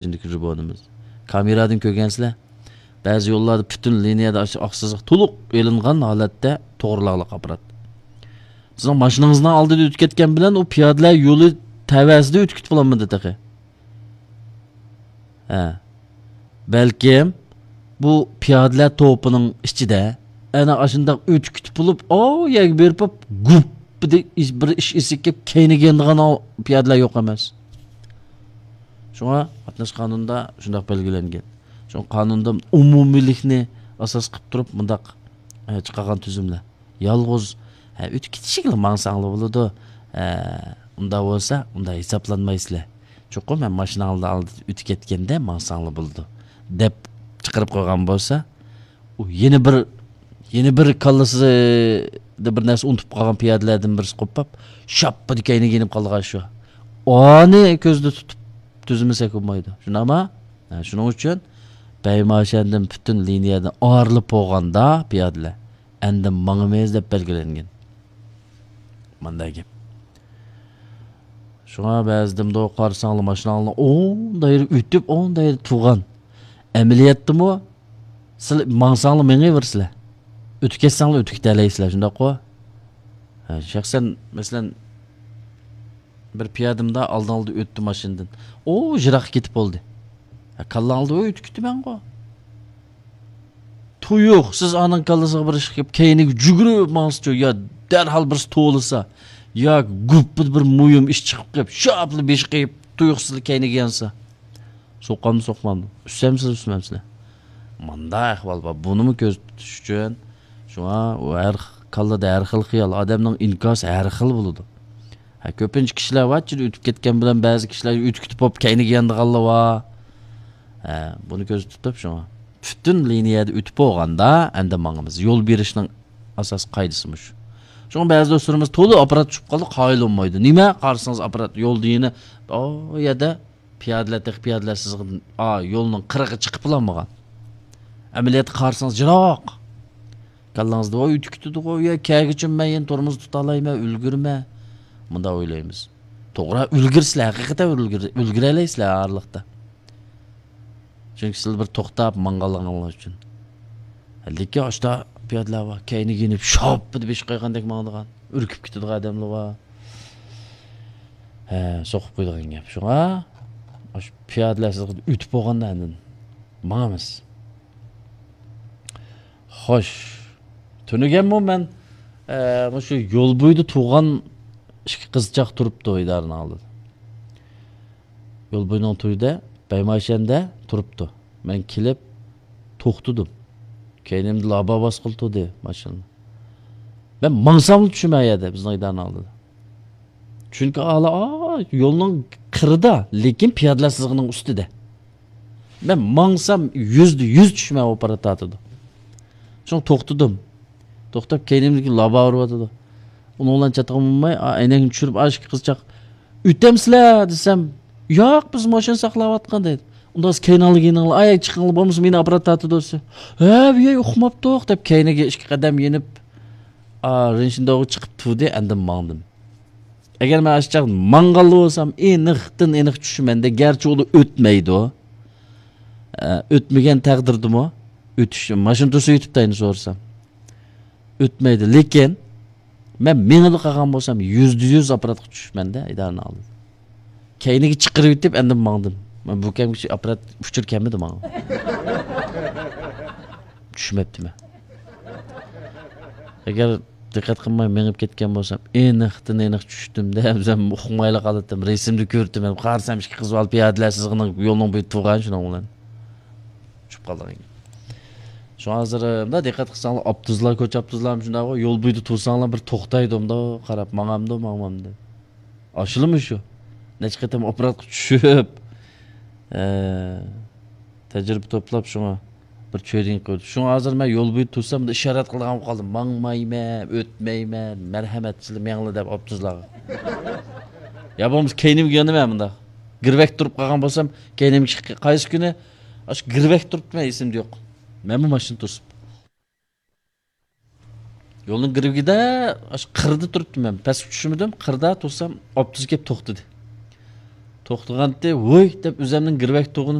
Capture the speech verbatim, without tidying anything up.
ئىچىندىكى رىبونىمىز. كامېرادىن كۆرگەنسىلەر. بەزى يوللاردا پۈتۈن لىنىيەدە ئاشۇ ئاق سىزىق تولۇق ئېلىنغان ھالەتتە توغرىلاقلىق ئاپپارات. سىزنىڭ ماشىنىڭىزنىڭ ئالدىدا ئۆتۈپ كەتكەن بىلەن ئۇ پىيادىلەر يولى تەۋەسىدە ئۆتۈپ كېتىپ بولالمىدى تېخى. ھە. بەلكىم بۇ پىيادىلەر توپىنىڭ ئىچىدە ئەنە ئاشۇنداق ئۆتۈپ كېتىپ بولۇپ، ئاۋۇ يەرگە بېرىپ گۇپ دېدى، بىر ئىش ئېسىپ كېلىپ كەينىگە يانىدىغان پىيادىلەر يوق ئەمەس. شۇڭا قاتناش قانۇنىدا شۇنداق بەلگىلەنگەن. شۇڭا قانۇندا ئومۇمىيلىكنى ئاساس قىلىپ تۇرۇپ مۇنداق، ئە، چىقارغان تۈزۈملەر. يالغۇز، ھە، ئۆتۈپ كېتىشىگىلا ماڭساڭلا بولىدۇ. ھە، ئۇنداق بولسا، ئۇنداق ھېسابلانمايسىلەر. چوقۇم ھەم ماشىناڭلار ئالدىدا ئۆتۈپ كەتكەندە ماڭساڭلا بولىدۇ، دەپ چىقىرىپ قويغان بولسا، ئۇ يەنە بىر، يەنە بىر كاللىسىدا بىر نەرسە ئۇنتۇپ قالغان پىيادىلەردىن بىرسى قوپاپ، شاپپىدە كەينىگە يېنىپ قالىدىغان شۇ. ئانى كۆزدە تۇتۇپ تۈزىمىسەك بولمايدۇ. شۇنداقمۇ؟ ھە، شۇنىڭ ئۈچۈن بەيماشەندىن پۈتۈن لىنىيەدىن ئايرىلىپ بولغاندا پىيادىلەر ئەندىن ماڭىمىز دەپ بەلگىلەنگەن. مانداق گەپ. شۇڭا بەزىدە مۇنداق قارىساڭلار، ماشىناڭلار ئوڭ دائىرە ئۆتۈپ، ئوڭ دائىرە تۇرغان. ئەمەلىيەتتىمۇ سىلەر ماڭساڭلار مېڭىۋېرىسىلەر. ئۆتۈپ كەتسەڭلار ئۆتۈپ كېتەلەيسىلەر، شۇنداققۇ؟ ھە، شەخسەن، مەسىلەن، بىر پىيادە مۇنداق ئالدىڭلاردا ئۆتتى ماشىنىدىن. ئۇ يىراققا كېتىپ بولدى. ھە، كاللاڭلاردا، ئۆي، ئۆتۈپ كېتىمەنغۇ. تۇيۇق، سىز ئانىڭ كاللىسىغا بىر ئىش قىلىپ، كەينىگە جۈگۈرۈپ ماڭسىچۇ، يا دەرھال بىرسى توۋلىسا، ياكى گۈپپىدە بىر مۇھىم ئىش چىقىپ قېلىپ، شاپلا بېشى قېيىپ، تۇيۇقسىزلا كەينىگە يانسا. سوقامدۇ، سوقمامدۇ؟ ئۈسسەمسىز، ئۈسمەمسىلەر؟ مانداق ئەھۋال بار. بۇنىمۇ كۆزىتىش ئۈچۈن، شۇڭا ئۇ ھەر كاللىدا ھەر خىل خىيال، ئادەمنىڭ ئىنكاسى ھەر خىل بولىدۇ. ھە، كۆپىنچە كىشىلەر بار، ئۆتۈپ كەتكەن بىلەن بەزى كىشىلەر ئۆتۈپ كېتىپ بولۇپ كەينىگە يانىدىغانلار بار. ھە، بۇنى كۆزدە تۇتۇپ شۇڭا. پۈتۈن لىنىيەدە ئۆتۈپ بولغاندا ئەندى ماڭىمىز. يول بېرىشنىڭ ئاساسىي قائىدىسى مۇشۇ. شۇڭا بەزى دوستلىرىمىز تولا ئاپپارات چۈشۈپ قالدى، قايىل بولمايدۇ. نېمە؟ قارىسىڭىز ئاپپارات يولدا يەنە ئۇ يەردە پىيادىلەر تېخى پىيادىلەر سىزىقىدىن، ئا، يولنىڭ قىرىقى چىقىپلا بولمىغان. ئەمەلىيەتتە قارىسىڭىز يىراق. كاللاڭىزدا، ۋاي، ئۆتۈپ كېتىدىغۇ، يا كەلگۈچىمۇ مەن يەنە تورمۇز تۇتالايمەن، ئۈلگۈرمەن. مۇنداق ئويلايمىز. توغرا، ئۈلگۈرىسىلەر، ھەقىقەتەن ئۈلگۈر-، ئۈلگۈرەلەيسىلەر ئارىلىقتا. چۈنكى سىلەر بىر توختاپ ماڭغانلىقىڭلار ئۈچۈن. لېكىن ئاشتا پىيادىلەر بار، كەينىگە يېنىپ، شاپپىدە بېشى قايغاندەك ماڭىدىغان، ئۈركۈپ كېتىدىغان ئادەملەر بار. ھە، سوقۇپ قويىدىغان گەپ. شۇڭا، ئاشۇ پىيادىلەر سىزگە ئۆتۈپ بولغاندا ئاندىن ماڭىمىز. خوش. تۈنۈگۈنمۇ مەن، ئە، مۇشۇ يول بويىدا تۇرغان ئىككى قىزچاق تۇرۇپتۇ ئىدارىنىڭ ئالدىدا. يول بويىنىڭ تۈۋىدە، بەيماشەندە تۇرۇپتۇ. مەن كېلىپ توختىدىم. كەينىمدە لابا باسقىلى تۇردى ماشىنا. مەن ماڭساملا چۈشىمەن ئۇ يەردە، بىزنىڭ ئىدارىنىڭ ئالدىدا. چۈنكى ئالا، ئا، يولنىڭ قىرىدا، لېكىن پىيادىلەر سىزىقىنىڭ ئۈستىدە. مەن ماڭسام يۈزدە يۈز چۈشىمەن، ئاپپارات تارتىدۇ. شۇڭا توختىدىم. توختاپ، كەينىمدىكى لابا ئۇرۇۋاتىدۇ. ئۇنىڭ بىلەن چاتىقىم بولماي، ئا، ئەينەكنى چۈشۈرۈپ، ئا، ئىككى قىزچاق، «ئۆتەمسىلەر؟» دېسەم، «ياق، بىز ماشىنا ساقلاۋاتقان» دەيدۇ. «ئۇنداق بولسا كەينىڭلارغا يېنىڭلار، ئاياغ چىقىڭلار، بولمىسا مېنى ئاپپارات تارتىدۇ» دېسە، «ھە، بۇ يەر ئۇقماپتۇق» دەپ كەينىگە ئىككى قەدەم يېنىپ، ئا، رىنشىنداۋغا چىقىپ تۇردى، ئاندىن ماڭدىم. ئەگەر مەن ئاشۇ چاغدا ماڭغانلا بولسام، ئېنىقتىن ئېنىق چۈشىمەن-دە، گەرچە ئۇدا ئۆتمەيدۇ. ئە، ئۆتمىگەن تەقدىردىمۇ ئۆتۈش، ماشىنا تۇرسا ئۆتۈپ تايىنى سورىسام. ئۆتمەيدۇ. لېكىن مەن مېڭىدۇ قالغان بولسام، يۈزدە يۈز ئاپپاراتقا چۈشىمەن-دە، ئىدارىنىڭ ئالدىدا. كەينىگە چىقىرىۋېتىپ، ئەندىن ماڭدىم. مەن بۇ كەمگىچە ئاپپارات ئۇچۇر كەلمىدى ماڭا. چۈشمەپتىمەن. ئەگەر دىققەت قىلماي مېڭىپ كەتكەن بولسام، ئېنىقتىن ئېنىق چۈشتۈم-دە، ئۆزۈم ئۇقمايلا قالاتتىم. رەسىمدە كۆرۈپتىمەن. قارىسام، ئىككى قىز بالا پىيادىلەر سىزىقىنىڭ يولنىڭ بويىدا تۇرغان، شۇنىڭ بىلەن چۈشۈپ قالدىم. شۇڭا ھازىر، مۇنداق دىققەت قىلساڭلار، ئاپتوبۇسلار، كوچا ئاپتوبۇسلارمۇ شۇنداقغۇ، يول بويىدا تۇرساڭلار، بىر توختايدۇ، مۇنداق قاراپ، ماڭامدۇ، ماڭمامدۇ. ئاشۇلىمۇ شۇ. نەچچە قېتىم ئاپپاراتقا چۈشۈپ، ئە، تەجرىبە توپلاپ، شۇڭا بىر چۆدىڭ قىلدى. شۇڭا ھازىر مەن يول بويىدا تۇرسام، بۇندا ئىشارەت قىلىدىغان بولۇپ قالدىم. ماڭمايمەن، ئۆتمەيمەن، مەرھەمەت، سىلەر مېڭىڭلار دەپ ئاپتوبۇسلارغا. يا بولمىسا كەينىمگە يانىمەن مۇنداق. گىرۋەك تۇرۇپ قالغان بولسام، كەينىمگە قايسى كۈنى ئاشۇ گىرۋەك تۇرۇپتىمەن، ئېسىمدە يوق. مەنمۇ ماشىنا توسۇپ. يولنىڭ گىرۋىكىدە، ئاشۇ قىردا تۇرۇپتۇم مەن. پەسكە چۈشمىدىم، قىردا تۇرسام، ئاپتوبۇس كېلىپ توختىدى. توختىغانتى، ۋوي دەپ ئۆزەمنىڭ گىرۋەك تۇغىنى